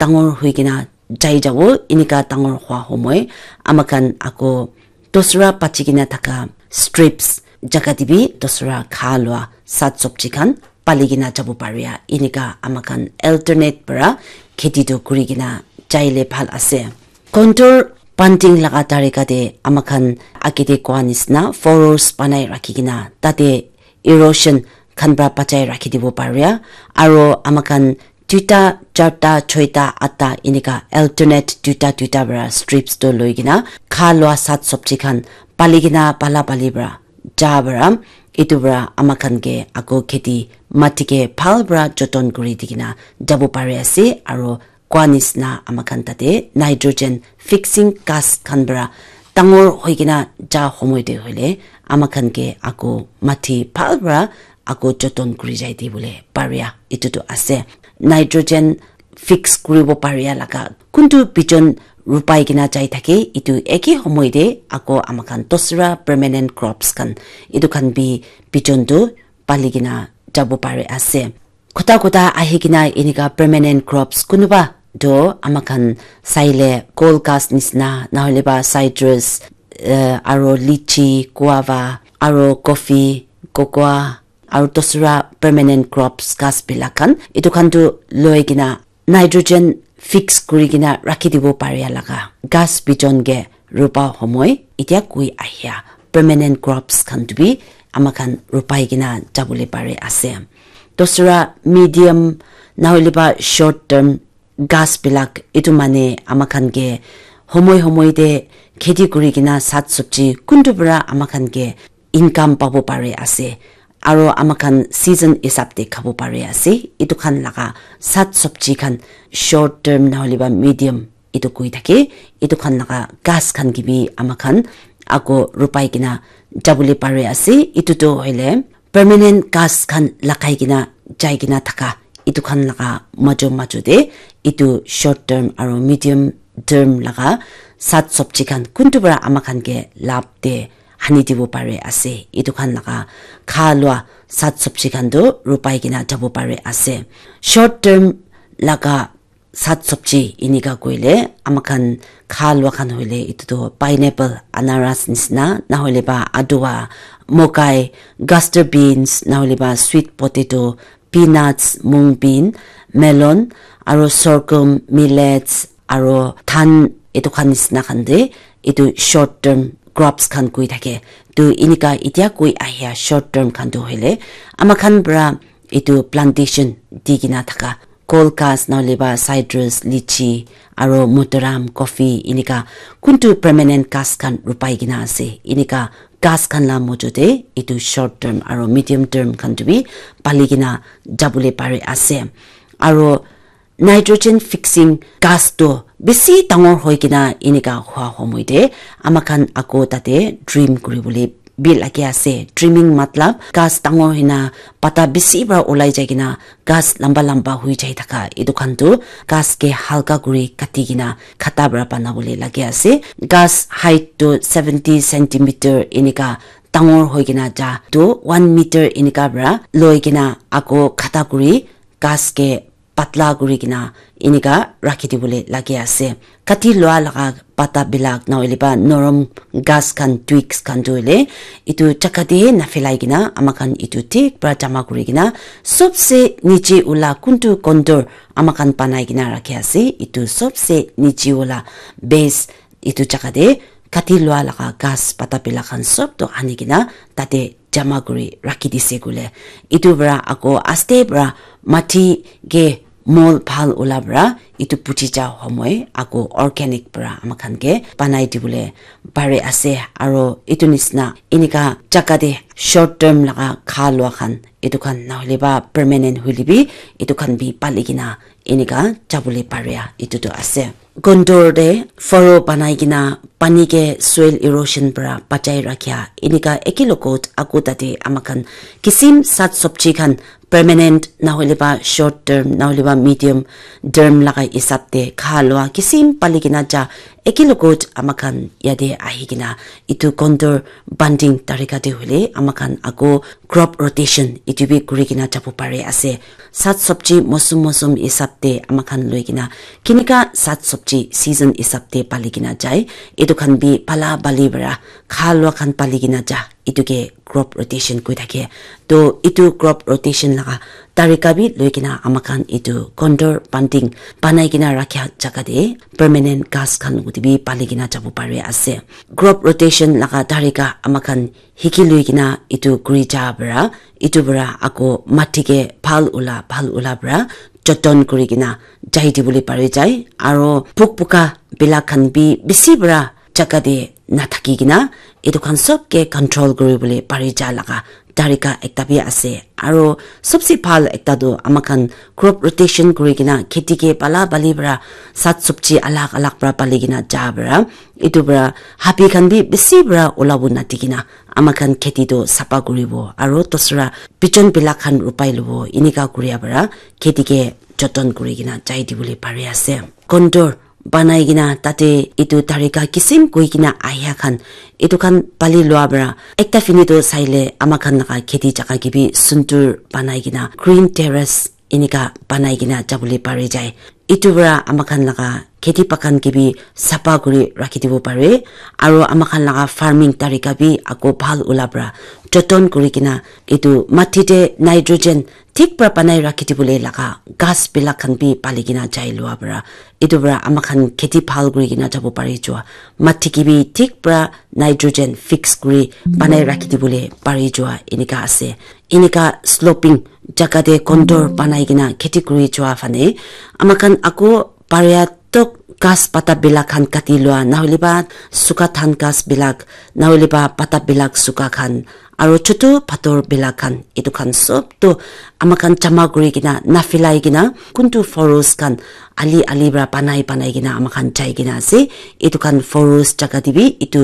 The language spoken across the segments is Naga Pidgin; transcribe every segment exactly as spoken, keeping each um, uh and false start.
dangor hoi kena jai jabo, enika dangor hwa homoi, ama khan ako dosra pachi kena thaka strips jaga te bi dosra kha lwa sat sabji khan pali kena jabo paria, enika ama khan alternate para kheti tu kuri kena jaile bhal ase. Contour planting laga tarika te ama khan age te koa nisna furrows banai rakhi kena tate erosion khan para bachai rakhi dibo paria, aro ama khan duita, charta, choita, atta enika alternate duita duita para strips to loi kena kha lwa sat sabji khan pali kena pala pali para ja para etu para ama khan ke ako kheti mati ke bhal para joton kuri di kena jabo pari ase, aro koa nisna ama khan tate nitrogen fixing gas khan para dangor hoi kena ja homoi te hoile ama khan ke ako mati bhal para ako joton kuri jai di bole paria etu tu ase. Nitrogen fix kuribo paria laga kuntu bijon rupai kena jai thake, etu eke homoi te ako ama khan dosra permanent crops khan etu khan bi bijon tu pali kena jabo pari ase. Kota kota ahi kena enika permanent crops kunuba do ama khan saile kol gas nisna nahole ba citrus, eh, aro lychee, guava, aro coffee, cocoa, aro dosra permanent crops gas bilak khan etu khan tu loi kena nitrogen fix kuri kena rakhi dibo paria laga gas bijon ke rupa homoi etia kui ahia permanent crops khan tu bi ama khan rupai kena jabole pare ase. Dosra medium nahole ba short term gas bilak etu mane ama khan ke homoi homoi te kheti kuri kena sat sabji kuntu para ama khan ke income pabo pare ase, aro ama khan season hisab te khabo pare ase. Etu khan laga sat sabji khan short term nahole ba medium etu koi thake, etu khan laga gas khan ke bi ama khan ako rupai kena jabole pare ase. Etu tu hoile permanent gas khan lagai kena jai kena thaka etu khan laga majo majo te etu short term aro medium term laga sat sabji khan kuntu para ama khan ke lab te hani dibo pare ase. Etu khan laga kha lua sat sabji khan tu rupai kena jabo pare ase. Short term laga sat sabji enika koile ama khan kha lua khan hoile etu tu pineapple, anaras nisna, nahole ba adua, mokai, gaster beans, nahole ba sweet potato, peanuts, mung bean, melon, aro sorghum, millets, aro than etu khan nisna khan te etu short term crops khan koi thake. Tu enika etia koi ahia short term khan tu hoile ama khan para etu plantation di kena thaka kol gas nahole ba citrus, lychee, aro motoram, coffee enika kuntu permanent gas khan rupai kena ase. Enika gas khan la mojo te etu short term aro medium term khan tu bi pali kena jabole pare ase. Aro nitrogen fixing gas tu bisi dangor hoi kena enika hua homoi te ama khan ako tate trim kuri bole bi lage ase. Trimming matlab gas dangor hoina pata bisi para ulai jai kena gas lamba lamba hui jai thaka etu khan tu gas ke halka kuri kati kena khata para bana bole lage ase. Gas height tu seventy centimeter enika dangor hoi kena ja tu one meter enika para loi kena ako khata kuri gas ke patla kuri kena enika rakhi dibole lage ase. Kati lua laga pata bilak nahole ba norom gas khan twigs khan tu hoile etu jaka te na phelai kena ama khan etu thik para jama kuri kena sobse niche ula kuntu contour ama khan banai kena rakhi ase. Etu sobse niche ula base etu jaka te kati lua laga gas pata bilak khan sob tu ani kena tate jama kuri rakhi dise koile etu para ako aste para mati ke mol bhal ula para etu puchi ja homoi ako organic para ama khan ke banai dibole pare ase. Aro etu nisna enika jaka te short term laga kha lua khan etu khan nahole ba permanent hoile bi etu khan bi pali kena enika jabole paria etu tu ase. Contour te furrow banai kena pani ke soil erosion para bachai rakhia enika eke logot aku tate ama khan kisim sat sabji khan permanent nahoile ba short term nahoile ba medium term laga hisab te kha lua kisim pali kena ja eke logot ama khan yate ahi kena etu contour banding tarika te hoile ama khan ako crop rotation etu bi kuri kena jabo pari ase. Sat sabji mosum mosum hisab te ama khan loi kena kinika sat sabji season hisab te pali kena jai, etu khan bi pala bali para kha lua khan pali kena ja, etu ke crop rotation koi thake. To etu crop rotation laga tarika bi loi kena ama khan etu contour banding banai kena rakha jaga te permanent ghas khan uti bi pali kena jabo pari ase. Crop rotation laga tarika ama khan hiki loi kena etu kuri ja para, etu para ako mati ke bhal ula bhal ula para joton kuri kena jai dibole pari jai. Aro puk puka bila khan bi bisi para jaga te nathaki kena etu khan sob ke control kuri bole pari ja laga tarika ekta bi ase. Aro sobse bhal ekta tu ama khan crop rotation kuri kena kheti ke pala bali para sat sabji alag alag para pali kena ja para etu para habi khan bi bisi para ulabo nati kena ama khan kheti tu sapa kuribo aro dusra bijon bila khan rupai lobo, enika kuria para kheti ke joton kuri kena jai dibole pari ase. Contour banai kena tate etu tarika kisim koi kena ahia khan etu khan pali lua para ekta fini tu saile ama khan laga kheti jaga ke bi sundur banai kena green terrace enika banai kena jabole pari jai. Etu para ama khan laga kheti bagan ke bi sapa kuri rakhi dibo pare aro ama khan laga farming tarika bi ako bhal ula para joton kuri kena etu mati te nitrogen thik para banai rakhi dibole laga ghas bila khan bi pali kena jai lua para etu para ama khan kheti bhal kuri kena jabo pari jua, mati ke bi thik para nitrogen fix kuri banai rakhi dibole pari jua enika ase. Enika sloping jaga te contour banai kena kheti kuri jua fane ama khan ako paria tok ghas pata bila khan kati lua nahoile ba suka than ghas bilak nahoile ba pata bilak suka khan aro chutu pathor bila khan etu khan sob tu ama khan jama kuri kena nafilai kena kuntu forest khan ali ali para banai banai kena ama khan jai kena ase. Etu khan forest jaga te bi etu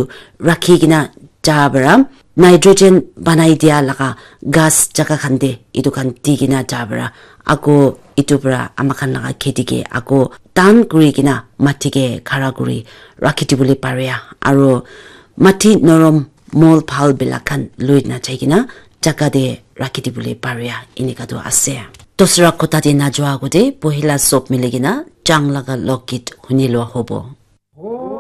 rakhi kena ja para nitrogen banai dia laga ghas jaga khan te etu khan di kena ja para ako etu para ama khan laga kheti ke ako tan kuri kena mati ke khara kuri rakhi dibole pare aro mati norom mol bhal bila khan loi na jai kena jaga te rakhi dibole pare enika tu ase. Dusra kotha te najua agote pohila sob mili kena chang laga lokgit huni lua hobo.